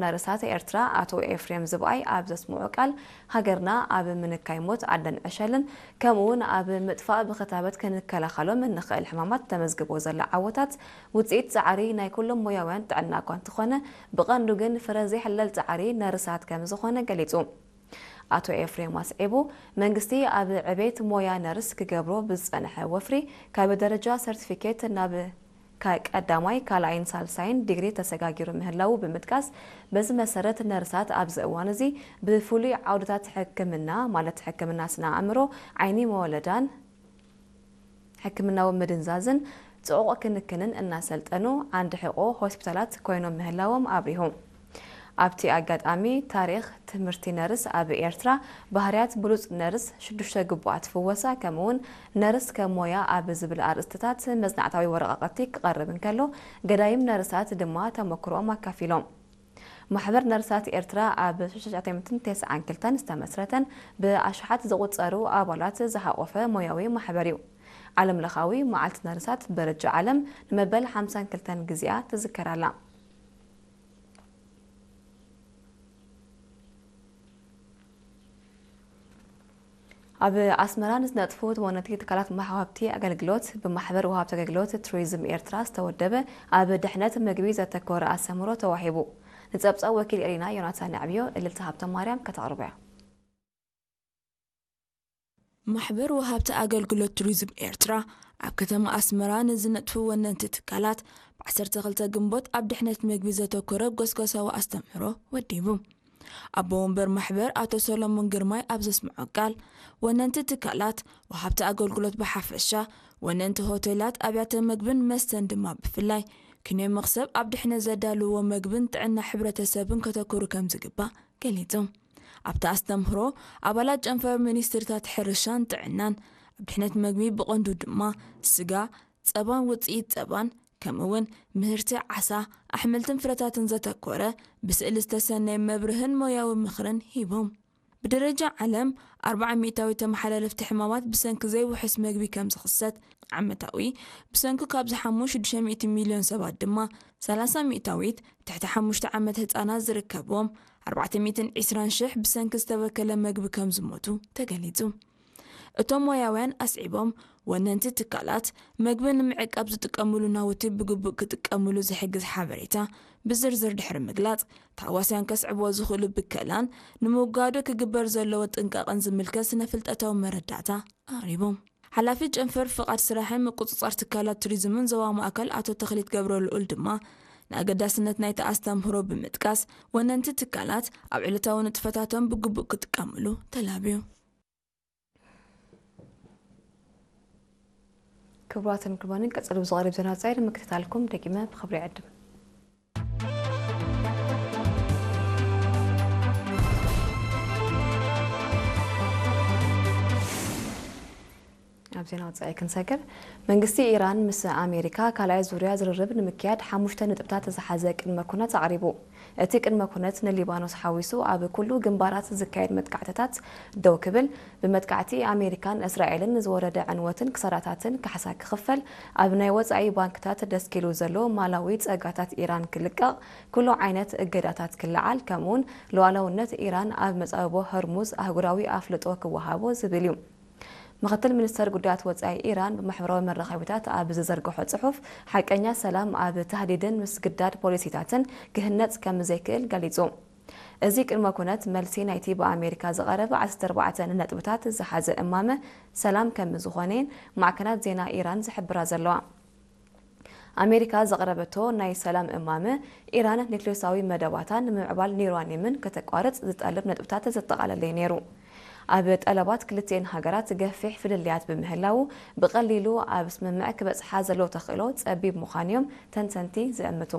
ነርሳት ኤርትራ ኣቶ ኤፍሬም ዝብኣይ ኣብ ዘስምዖ ቃል፣ ሃገርና ኣብ ምንካይ ሞት ኣደን ዕሸልን ከምኡ እውን ኣብ ምጥፋእ ብኽታበት ክንከላኸሎም እንኽእል ሕማማት ተመዝግቦ ዘላ ዓወታት ውፅኢት ፃዕሪ ናይ ኩሎም ሞያውያን ጥዕና እኳ እንተኾነ፣ ብቐንዱ ግን ፍረ ዘይሕለል ፃዕሪ ነርሳት ከም ዝኾነ ገሊፁ። ኣቶ ኤፍሬም ኣስዒቡ፣ መንግስቲ ኣብ ዕቤት ሞያ ነርስ ክገብሮ ብዝጸንሐ ወፍሪ ካብ ደረጃ ሰርቲፊኬት ናብ ካ- ቀዳማይ፣ ካልኣይን ሳልሳይን ዲግሪ ተሰጋጊሩ ምህላዉ ብምጥቃስ፣ በዚ መሰረት ነርሳት ኣብዚ እዋን እዚ ብፍሉይ ዓውድታት ሕክምና ማለት ሕክምና ስነ ኣእምሮ፣ ዓይኒ መወለዳን ሕክምናዊ ምድንዛዝን ጽዑቕ ክንክንን እናሰልጠኑ ዓንዲ ሕቆ ሆስፒታላት ኮይኖም ምህላዎም ኣብሪሁ። ኣብቲ ኣጋጣሚ ታሪኽ ትምህርቲ ነርስ ኣብ ኤርትራ፣ ባህርያት ብሉጽ ነርስ፣ ሽዱሽተ ግቡኣት ፍወሳ ከምኡውን ነርስ ከም ሞያ ኣብ ዝብል ኣርእስትታት መጽናዕታዊ ወረቓቕቲ ክቐርብ እንከሎ፣ ገዳይም ነርሳት ድማ ተመክሮኦም ኣካፊሎም። ማሕበር ነርሳት ኤርትራ ኣብ ሽሕተ ትሽዓተ ሚእትን ተስዓን ክልተን ዝተመስረተን ብኣሽሓት ዝቑጸሩ ኣባላት ዝሓቖፈ ሞያዊ ማሕበር እዩ። ዓለምለኻዊ መዓልቲ ነርሳት ብደረጃ ዓለም ንመበል ሓምሳን ክልተን ግዜኣ ትዝከር ኣላ። ኣብ ኣስመራ ንዝነጥፉ ወነንቲ ትካላት መሓዋብቲ ኣገልግሎት ብማሕበር ወሃብቲ ኣገልግሎት ቱሪዝም ኤርትራ ዝተወደበ ኣብ ድሕነት ምግቢ ዘተኮረ ኣስተምህሮ ተዋሂቡ። ንጸብጻብ ወኪል ኤሪና ዮናታን ኣዕብዮ እልልታ ሃብተ ማርያም ከተቕርቦ እያ። ማሕበር ወሃብቲ ኣገልግሎት ቱሪዝም ኤርትራ ኣብ ከተማ ኣስመራ ንዝነጥፉ ወነንቲ ትካላት ብ ዓሰርተ ክልተ ግንቦት ኣብ ድሕነት ምግቢ ዘተኮረ ጎስጓሳዊ ኣስተምህሮ ወዲቡ። ኣቦ ወንበር ማሕበር ኣቶ ሰሎሞን ግርማይ ኣብ ዘስምዖ ቃል፣ ወነንቲ ትካላት፣ ወሃብቲ ኣገልግሎት ብሓፈሻ፣ ወነንቲ ሆቴላት፣ ኣብያተ ምግብን መስተን ድማ ብፍላይ፣ ክንዮ መኽሰብ ኣብ ድሕነት ዘዳልዎ ምግብን ጥዕና ሕብረተሰብን ከተኩሩ ከም ዝግባእ ገሊጹ። ኣብቲ ኣስተምህሮ፣ ኣባላት ጨንፈር ሚኒስትሪታት ሕርሻን ጥዕናን፣ ኣብ ድሕነት ምግቢ ብቐንዱ ድማ ስጋ፣ ጸባን ውጽኢት ጸባን፣ ከምኡ'ውን ምህርቲ ዓሳ፣ ኣሕምልትን ፍረታትን ዘተኮረ ብስእሊ ዝተሰነየ መብርህን ሞያዊ ምኽርን ሂቦም። ብደረጃ ዓለም፣ ኣርብዓ ሚእታዊት ተመሓላለፍቲ ሕማማት ብሰንኪ ዘይውሑስ መግቢ ከም ዝኽሰት፣ ዓመታዊ ብሰንኪ ካብ ዝሓሙ ሽዱሽተ ሚእቲ ሚልዮን ሰባት ድማ፣ ሰላሳ ሚእታዊት ትሕቲ ሓሙሽተ ዓመት ህጻናት ዝርከብዎም፣ ኣርባዕተ ሚእትን ዕስራን ሽሕ ብሰንኪ ዝተበከለ መግቢ ከም ዝሞቱ ተገሊጹ። እቶም ሞያውያን ኣስዒቦም፣ ወነንቲ ትካላት፣ መግቢ ንምዕቃብ ዝጥቀምሉ ናውቲ ብግቡእ ክጥቀምሉ ዝሕግዝ ሓበሬታ ብዝርዝር ድሕሪ ምግላጽ፣ ታህዋስያን ከስዕብዎ ዝኽእሉ ብከላን ንምውጋዱ ክግበር ዘለዎ ጥንቃቐን ዝምልከት ስነ-ፍልጠታዊ መረዳእታ ኣቕሪቦም። ሓላፊ ጨንፈር ፍቓድ ስራሕን ምቁጽጻር ትካላት ቱሪዝምን ዞባ ማእከል ኣቶ ተኽሊት ገብረልኡል ድማ፣ ንኣገዳስነት ናይቲ ኣስተምህሮ ብምጥቃስ፣ ወነንቲ ትካላት ኣብ ዕለታዊ ንጥፈታቶም ብግቡእ ክጥቀምሉ ተላብዩ። ክቡራትን ክቡራንን፣ ቀጽሉ ብዝቐርብ ዜና ወጻኢ ንምክትታልኩም ደጊመ ብኽብሪ ይዕድም። ኣብ ዜና ወጻኢ ክንሰግር፣ መንግስቲ ኢራን ምስ ኣሜሪካ ካልኣይ ዙርያ ዝርርብ ንምክያድ ሓሙሽተ ነጥብታት ዝሓዘ ቅድመ ኩነት ኣቕሪቡ። እቲ ቅድመ ኩነት ንሊባኖስ ሓዊሱ ኣብ ኩሉ ግንባራት ዝካየድ መጥቃዕትታት ደው ክብል፣ ብመጥቃዕቲ ኣሜሪካን እስራኤልን ንዝወረደ ዕንወትን ክሳራታትን ካሕሳ ክኽፈል፣ ኣብ ናይ ወጻኢ ባንክታት ደስኪሉ ዘሎ ማላዊ ጸጋታት ኢራን ክልቀቕ፣ ኩሉ ዓይነት እገዳታት ክለዓል፣ ከምኡውን ሉዓላውነት ኢራን ኣብ መጻብቦ ሆርሙዝ ኣህጉራዊ ኣፍልጦ ክወሃቦ ዝብል እዩ። ምኽትል ሚኒስተር ጉዳያት ወጻኢ ኢራን ብማሕበራዊ መራኸቢታት ኣብ ዝዘርግሖ ጽሑፍ፣ ሓቀኛ ሰላም ኣብ ታህዲድን ምስግዳድ ፖሊሲታትን ክህነጽ ከም ዘይክእል ገሊጹ። እዚ ቅድመ ኩነት መልሲ ናይቲ ብኣሜሪካ ዝቐረበ ዓሰርተ ኣርባዕተ ነጥብታት ዝሓዘ እማመ ሰላም ከም ዝኾነን ማዕከናት ዜና ኢራን ዝሕብራ ዘለዋ። ኣሜሪካ ዘቕረበቶ ናይ ሰላም እማመ፣ ኢራን ኒክሌሳዊ መደባታን ምምዕባል ዩራኒየምን ከተቋርጽ ዝጠልብ ነጥብታት ዘጠቓለለ እዩ ነይሩ። ኣብ ጠለባት ክልቲኤን ሃገራት ገፊሕ ፍልልያት ብምህላዉ፣ ብቐሊሉ ኣብ ስምምዕ ክበጽሓ ዘለዎ ተኽእሎ ጸቢብ ምዃኑ'ዮም ተንተንቲ ዝእምቱ።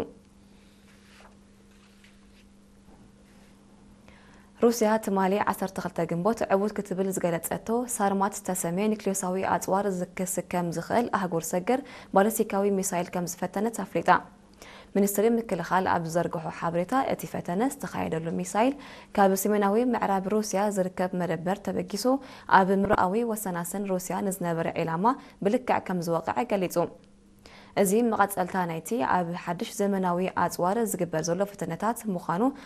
ሩስያ ትማሊ ዓሰርተ ክልተ ግንቦት ዕዉት ክትብል ዝገለጸቶ ሳርማት ዝተሰምየ ኒክሌሳዊ ኣጽዋር ክስከም ዝኽእል ኣህጉር ሰገር ባሊስቲካዊ ሚሳይል ከም ዝፈተነት ኣፍሊጣ። ሚኒስትሪ ምክልኻል ኣብ ዝዘርግሖ ሓበሬታ፣ እቲ ፈተነ ዝተኻየደሉ ሚሳይል ካብ ሰሜናዊ ምዕራብ ሩስያ ዝርከብ መደበር ተበጊሱ ኣብ ምብራቓዊ ወሰናስን ሩስያ ንዝነበረ ዒላማ ብልክዕ ከም ዝወቕዐ ገሊጹ። እዚ መቐጸልታ ናይቲ ኣብ ሓድሽ ዘመናዊ ኣጽዋር ዝግበር ዘሎ ፈተነታት ምዃኑ